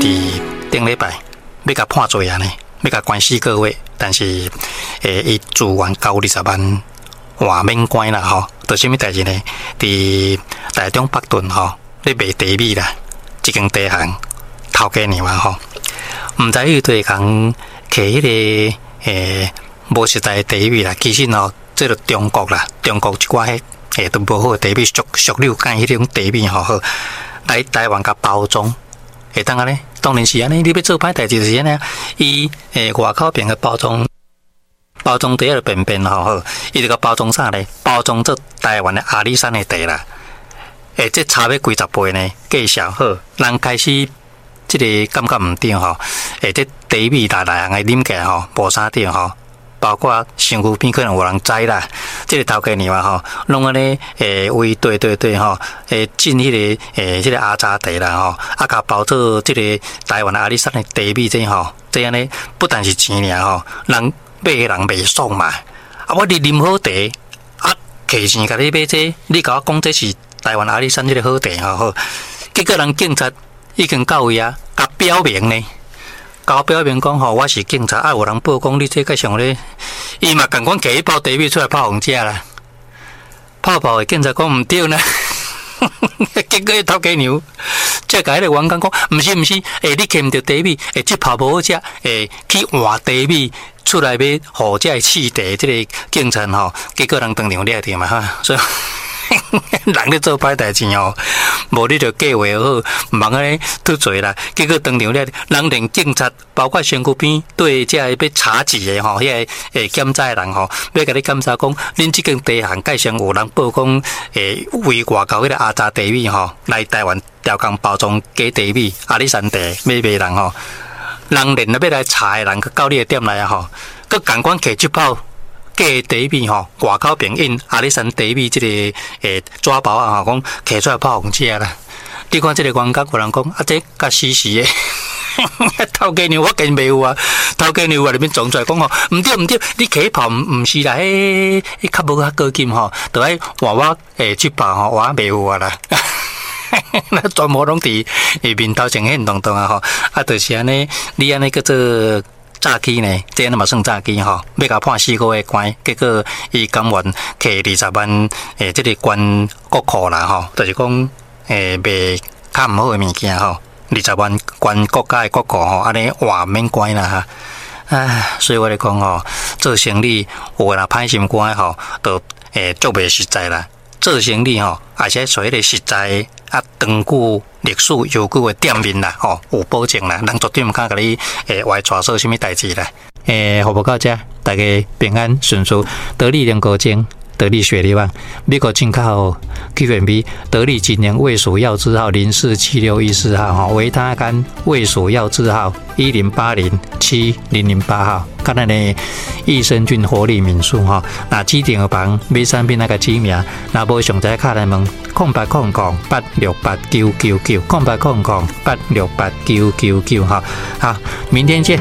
佇頂禮拜欲共判罪啊呢，欲共關4個月，但是伊自願交20萬換免關啦吼。就啥物代誌呢？佇台中北屯吼，咧賣茶米啦，這間茶行頭家娘啊吼，毋知彼個茶行摕彼個無實在的茶米啦，其實吼，這就中國啦，中國一寡彼都無好的茶米，俗俗溜干彼種茶米吼，好來台灣共包裝，會當按呢？當然是按呢，你欲做歹代誌就是按呢，伊外口邊的包裝。包裝袋仔便便吼好，伊就共包裝啥咧？包裝做台灣的阿里山的茶啦。這差欲幾十倍呢？價數好，人開始這个感覺毋對吼。這茶米來來行的啉起來吼，無啥對吼。包括身軀邊可能有人知啦，這个頭家娘啊吼，攏按呢為對對對吼，進彼个這个阿雜茶啦吼，啊，共包做這个台灣的阿里山的茶米這吼，這按呢不但是錢爾吼，人買的人袂爽嘛。啊，我佇啉好茶，啊，摕錢共你買這，你共我講這是台灣阿里山這个好茶吼好，結果人警察已經到位啊，共表明呢。共我表明講吼，我是警察，啊，有人報講你這個像咧，伊嘛仝款摕一包茶米出來泡予人食啦，泡泡的警察講毋對呢，結果頭家娘才共彼个員工講，毋是毋是，你摕毋著茶米，這泡無好食，去換茶米出來欲予這个試茶這个警察吼，結果人當場掠著嘛哈，所以人咧做歹代誌吼，無你就計劃好，毋通按呢脫罪啦。結果當場掠，人連警察，包括身軀邊對這个欲查緝的吼，彼个檢查的人吼，欲共你檢查講，恁這間茶行蓋上有人報講，為外口彼个阿雜茶米吼，來台灣調工包裝假茶米，阿里山茶欲賣人吼，人連欲來查的人，閣到你的店內啊吼，閣仝款摕這包假茶米吼，外口邊印阿里山茶米這个紙包啊吼，講摕出來泡予人食啦。你看這个員工有人講，啊，這較死死的，頭家娘我見袂有啊，頭家娘啊裡面撞出來講吼，毋對毋對，你摕彼包毋是啦，彼較無較高級吼，著愛換我這包吼，我袂有啊啦。那全部攏佇面頭前現動動啊吼，啊，就是按呢，你按呢叫做詐欺呢？這按呢嘛算詐欺吼，欲共判4個月關，結果伊甘願摕20萬這个捐國庫啦吼，就是講賣較毋好的物件吼，二十萬捐國家的國庫吼，按呢換免關啦哈。唉，所以我咧講吼，做生理有的若歹心肝的吼，就足袂實在啦。做生理吼，而且揣彼个實在啊，長久歷史悠久的店面啦，吼，有保證啦，人絕對毋敢共你歪帶做啥物代誌啦。服務到這，大家平安順遂，得力連高精，得力雪梨棒，美國進口 Q&B，得力錦聯衛署藥字號047614號，吼，維他乾衛署藥字號10807008號，佮咱的益生菌活力敏素吼，若指定的房買產品那個指名，若無上知敲來問08008689990800868999哈，好，明天見。